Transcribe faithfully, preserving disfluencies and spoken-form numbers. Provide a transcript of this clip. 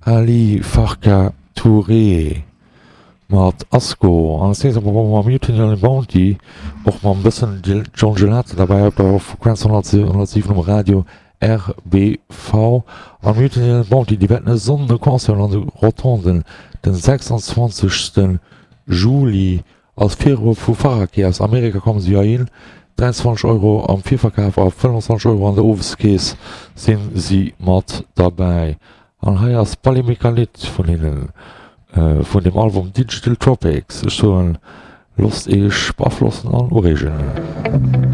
Ali Farka Touré mat Asco an als nächstes mam Mutiny on the Bounty, och mam bëssen John Gelato derbäi op der Frequenz honnertsiwen um Radio R B V. An Mutiny on the Bounty, déi wäerten e Sonnden e Concert hunn an de Rotonden den sechsundzwanzegste. Juli als Virgrupp vu Faraki aus Amerika kommen si heihin. dräianzwanzeg Euro am Virverkaf a fënnefanzwanzeg Euro an der Oweskeess sinn si mat derbäi. An hei ass Ballet Mécanique vun hinnen, vun dem Album Digital Tropics. Ech soen, loosst iech beaflossen an ureegen.